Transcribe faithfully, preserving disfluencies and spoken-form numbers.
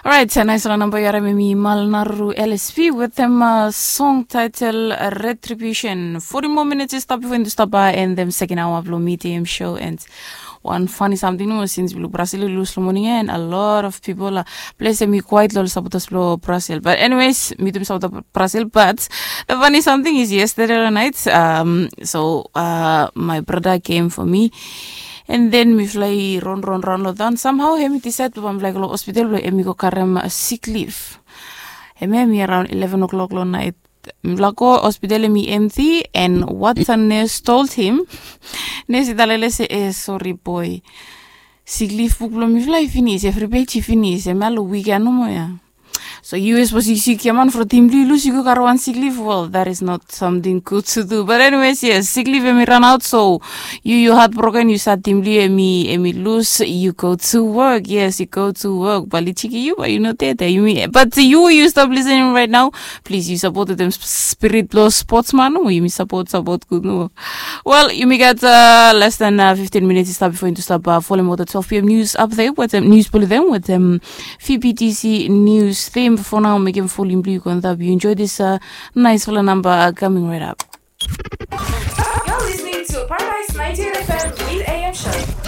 Orait, naispela namba yu harim em i Malnaruru L S P wetem song title Retribution. Forty more minutes i stap before into stop by and them second hour of Lomiti M show and one funny something no since blo Brazil lose lo morning and a lot of people are place em i quiet lo supporters blo Brazil. But anyways, mitum supporter Brazil, but the funny something is yesterday night. Um, so uh, my brother came for me. And then mifala i ron ron ron lo daun somehow hem i decide blo mifala i go lo hospital blo hem i go karem sick leave. Hem hem i around eleven o'clock lo night. Mifala go hospital hem i empty and what the nurse told him. Nurse i talele se e sorry boy, sick leave buk blo mifala i finis, every page i finis, hem ya lo weekend nomo ya. So yu e sapos yu sik ya man from tim blo yu lus yu go kare wan sik leave, well, that is not something good to do. But anyways, yes, sik leave em i run out, so yu yu heartbroken, yu sad tim blo yu em i em i lus, yu go to work. Yes, yu go to work, but li chiki yu, but yu no dede yu mi. But yu yu stop listening right now, please yu support dem spirit lo sportsman no, yu mi support support good no. Well, yu mi gat uh, less than uh, fifteen minutes i stap before into stop uh, follow mo the twelve p m news up there with them news blo them with them. Fibitisi news them for now, mekem folim blo yu go and you enjoy this uh, nice fala number uh, coming right up. You're listening to Paradise ninety-eight F M Mid A M Show.